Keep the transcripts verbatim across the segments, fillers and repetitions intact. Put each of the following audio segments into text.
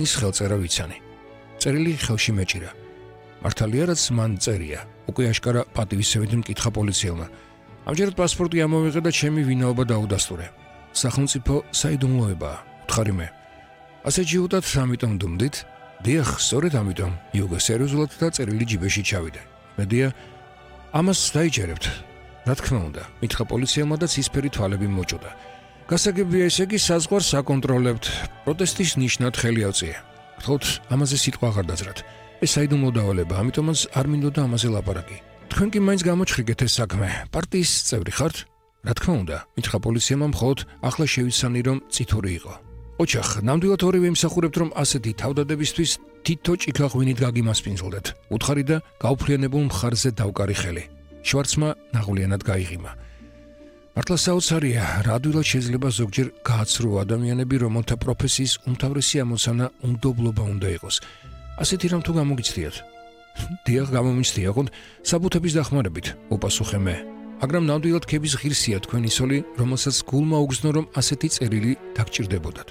ის ხელწერა ვიცანი. წერილი ხელში მეჭირა. მართალია რაც მან წერია. უკვე აშკარა პატივისცემით მკითხა პოლიციელმა. ამჯერად პასპორტი ამოვიღე და ჩემი ვინაობა დაუდასტურე. სახელმწიფო საიდუმლოებაა, უთხარი მე. ასე ჯიუტად ამიტომ დუმდით? დიახ, სწორედ ამიტომ. იუგო სერიოზულად და წერილი ჯიბეში ჩავიდა. მედია ამას დაიჯერებთ. რა თქმა უნდა, მითხრა პოლიციელმა და ცისფერი თვალები მოჭოდა. გასაგებია ესე იგი საზღვარს აკონტროლებთ. პროტესტის ნიშნად ხელი ავწია. გთხოვთ, ამაზე სიტყვა აღარ დაძრათ. ეს საიდუმლო დავალება, ამიტომაც არ მინდოდა ამაზე ლაპარაკი. თქვენ კი მაინც გამოჩხრიგეთ ეს საქმე. პარტიის წევრი ხართ? რა თქმა უნდა, მითხრა პოლიციელმა მხოლოდ ახლა შევიცანი რომ წითური იყო. ოჩახ, ნამდვილად ორივე იმსახურებთ რომ ასეთი თავდადებისთვის თითო ჭიქა ღვინით გაგიმასპინძლდეთ. უთხარი და გაუფრიანებულ მხარზე დავკარი ხელი. შვარცმა ნაღვლიანად გაიღიმა. მართლა საოცარია, რა ადვილად შეიძლება ზოგჯერ გააცრო ადამიანები, რომელთა პროფესიის უმთავრესი ამოცანა უნდობლობა უნდა იყოს. ასეთი რამ თუ გამოგიცდიათ? დიახ, გამომიცდია, ხონდ საბუთების დახმარებით, უპასუხე მე. მაგრამ ნამდვილად ქების ღირსია თქვენი სოლი, რომელსაც გულმა უგზნო რომ ასეთი წერილი დაგჭირდებოდათ.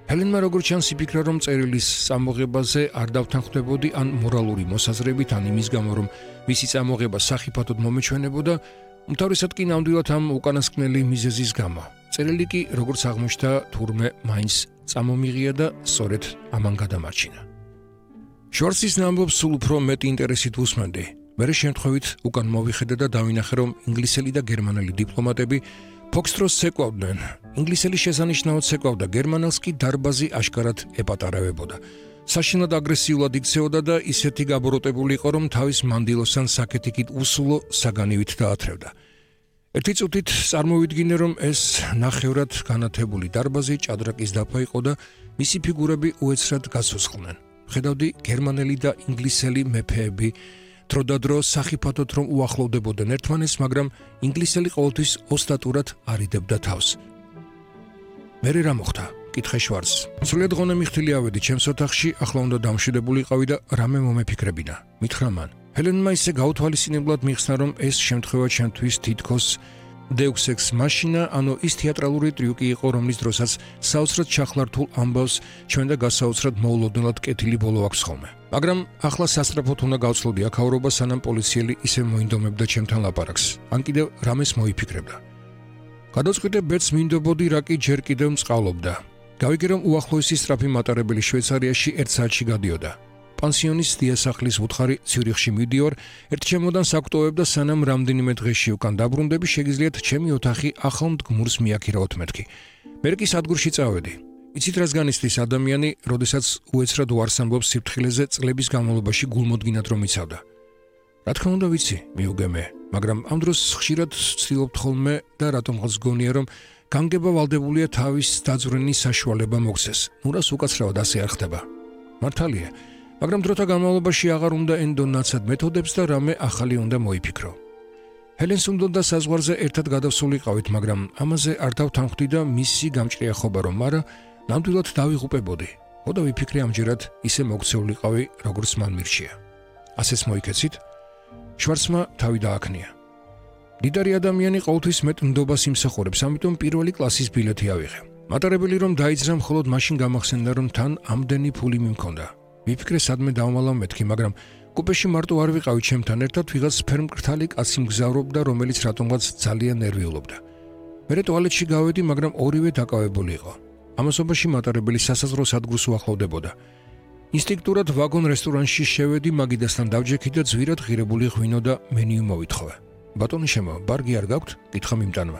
ჰელენმა როგორც ჩანს იფიქრა რომ წერილის წამოღებაზე არ დავთანხმდებოდი ან მორალური მოსაზრებით ან იმის გამო რომ მისი წამოღება სახიფათოდ მომეჩვენებოდა, უმთავრესად კი ნამდვილად ამ უკანასკნელი მიზეზის გამო. წერილი კი როგორც აღმოჩნდა თურმე მაინც წამომიღია და სწორედ ამან გადამარჩინა. შვარცის ამბობს სულ უფრო მეტი ინტერესით უსმენდი. მერე შემთხვევით უკან მოვიხედე და დავინახე რომ ინგლისელი და გერმანელი დიპლომატები ფოქსტროს ცეკვავდნენ. ინგლისელი შესანიშნავად ცეკვავდა, გერმანელს კი დარბაზი აშკარად ეპატარავებოდა. საშინლად აგრესიულად იქცეოდა და ისეთი გაბოროტებული იყო, რომ თავის მანდილოსთან საკეთიკით უსულო საგანივით დაათრევდა. ერთი წუთით წარმოვიდგინე, რომ ეს ნახევრად განათებული დარბაზი ჭადრაკის დაფა იყო და მისი ფიგურები უეცრად გაცოცხლდნენ. ხედავდი გერმანელი და ინგლისელი მეფეები დროდადრო სახიფათოდ რომ უახლოვდებოდნენ ერთმანეთს, მაგრამ ინგლისელი ყოველთვის ოსტატურად არიდებდა თავს. მერე რა მოხდა? კითხე შვარცს. სრულიად ღონე მიხთილი ავედი ჩემს ოთახში, ახლა უნდა დამშვიდებული იყავი და რამე მომეფიქრებინა. მითხრა მან. ჰელენმა ისე გაუთვალისწინებლად მიხსნა, რომ ეს შემთხვევა ჩემთვის თითქოს Deus ex machina, ანუ ის თეატრალური ტრიუკი იყო, რომლის დროსაც საოცრად ჩახლართულ ამბავს ჩვენ და გასაოცრად მოულოდნელად კეთილი ბოლო აქვს ხოლმე. მაგრამ ახლა სასწრაფოდ უნდა გავცლოდი აქაურობა, სანამ პოლიციელი ისე მოინდომებდა ჩემთან ლაპარაკს. ან კიდევ რამეს მოიფიქრებდა. გადავწყვიტე ბედს მინდობოდი, რა კი ჯერ კიდევ მწყალობდა. გავიგე რომ უახლოესი სწრაფი მატარებელი შვეიცარიაში ერთ საათში გადიოდა. პანსიონის დიასახლის უთხარი ციურიხში მივდივარ, ერთ ჩემოდანს აკვტოვებ და სანამ რამდენიმე დღეში უკან დაბრუნდები, შეგიძლიათ ჩემი ოთახი ახალ მდგმურს მიაქირავოთ მეთქი. მე კი სადგურში წავედი. იცით რას განიცდის ადამიანი, როდესაც უეცრად უარს ამბობს სიფრთხილეზე წლების განმავლობაში გულმოდგინად რომ იცავდა. რა თქმა უნდა ვიცი, მიუგე მე, მაგრამ ამ დროს ხშირად ვცდილობთ ხოლმე და რატომღაც გონია რომ განგება ვალდებულია თავის დაძვრენის საშუალება მოგცეს. ნუ რას უკაცრავად ასე არ ხდება. მართალია, მაგრამ დროთა განმავლობაში აღარ უნდა ენდო ნაცად მეთოდებს და რამე ახალი უნდა მოიფიქრო. ჰელენს უნდა საზღვარზე ერთად გადავსულიყავით, მაგრამ ამაზე არ დავთანხმდი და მისი გამჭრიახობა რომ არა, ნამდვილად დავიღუპებოდი. ხოდა ვიფიქრე ამჯერად ისე მოგცეულიყავი, როგორც მან მირჩია. ასეც მოიქეცით? შვარცმა თავი დააქნია. დიდარი ადამიანი ყოველთვის მეტ ნდობას იმსახურებს, ამიტომ პირველი კლასის ბილეთი ავიღე. მატარებელი რომ დაიძრა, მხოლოდ მაშინ გამახსენდა, რომ თან ამდენი ფული მიმქონდა. ვიფიქრე სადმე დავმალავ მეთქი, მაგრამ კუპეში მარტო არ ვიყავი ჩემთან ერთად, ვიღაც ფერმკრთალი კაცი მგზავრობდა, რომელიც რატომღაც ძალიან ნერვიულობდა. მერე ტუალეტში გავედი, მაგრამ ორივე დაკავებული იყო. ამასობაში მატარებელი სასაზღვრო სადგურს უახლოვდებოდა. ინსტინქტურად ვაგონ რესტორანში შევედი, მაგიდასთან დავჯექი და ძვირად ღირებული ღვინო და მენიუ მოვითხოვე. ბატონი შემო, ბარგი არ გაქვთ? კითხა მიმტანმა.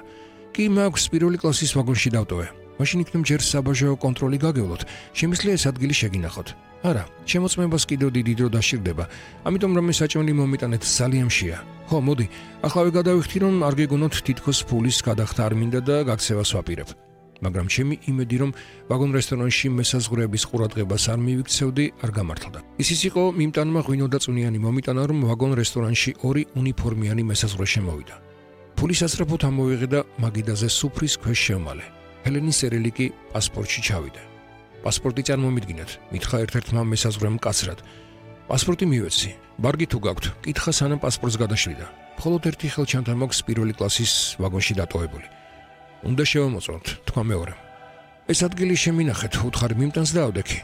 კი მაქვს, პირველი კლასის ვაგონში დავტოვე. მაშინ იქნებ ჯერ საბაჟო კონტროლი გაგევლოთ, შემიძლია ეს ადგილი შეგინახოთ. არა, შემოწმებას კიდევ დიდი დრო დასჭირდება, ამიტომ რომ ეს საჭმელი მომიტანეთ ძალიან მშია. ხო, მოდი, ახლა გადავიხდი რომ არ გეგონოთ თითქოს ფულის გადახდა არ მინდა და გაქცევას ვაპირებ. მაგრამ ჩემი იმედი რომ ვაგონ რესტორანში მესაზღვრეების ყურადღებას არ მივიქცევდი, არ გამართლდა. ისიც იყო მიმტანმა ღვინო და წვნიანი მომიტანა, რომ ვაგონ რესტორანში ორი უნიფორმიანი მესაზღვრე შემოვიდა. ფულის ასწრაფოდ ამოვიღე და მაგიდაზე სუფრის ქვეშ შევმალე. ჰელენის წერილი კი პასპორტში ჩავიდა. პასპორტი წარმომიდგინეთ, მითხრა ერთ-ერთმა მესაზღვრემ მკაცრად. პასპორტი მივეცი. ბარგი თუ გაქვთ, კითხა სანამ პასპორტს გადაშვიდა. მხოლოდ ერთი ხელჩანთა მაქვს პირველი კლასის ვაგონში დატოვებული. უნდა შევამოწმოთ, თქვა მეორე. ეს ადგილი შემინახეთ, უთხარი მიმტანს დაავდექი.